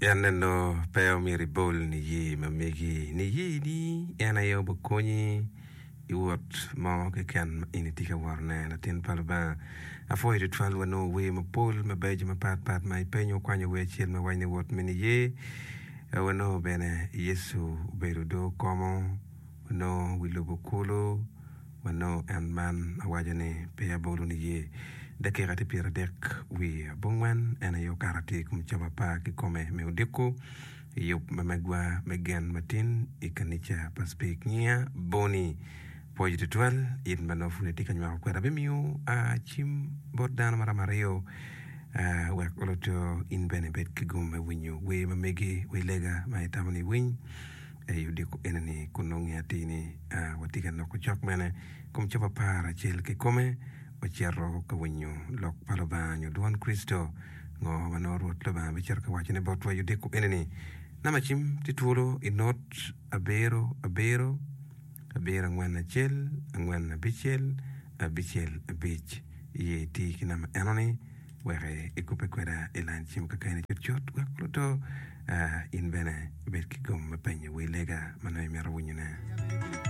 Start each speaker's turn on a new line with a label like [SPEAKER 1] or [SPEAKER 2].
[SPEAKER 1] En eno pe omyero ibol niye ma megi. Niyeni en aye obikonyi i wot mo keken ma in itye ka wotone. Latin pa Lubanga, apwoyo tutwal wanongo wer mapol mabeco mapat pat ma ipenyo okwanyo wer acel ma waco ni wot me niye. Wanongo bene Yecu obedo do komo, wanongo wi lobo kulu. Wanongo en man awaco ni pe abolo niye. Dakika tye pyeradek wiye abongwen en aye okato atir i kom cawa apar kikome me odiko i yub ma megwa me gen matin i kanica pa Speke Ngiya Boni. Pwoyo tutwal in ma nongo pud itye ka nywako kweda. Abimiyo cim bot dano maromo aryo wek oloto in bene ibed ki gum me winyo wer ma megi wer lega ma itamo ni iwiny. I odiko eni-ni kun nongo ngeyo atir ni watye ka noko cok mene kom cobo aparacel kikome, wacito ka winyo lok pa Lubanga nyo dwon Kricito. Ngo ma nongo Rwot Lubanga bicito ka wacone botwa i odiko eni-ni? Namba cim tye twolo i not abiro abiro, abiro angwen acel, angwen abicel, abicel abic. Iye iti ki namba enoni. Wek ikubbe kweda i lain cim kakeni cutcut wek oluto in bene ibed ki gum me penyo wi lega ma nongo imito winyone.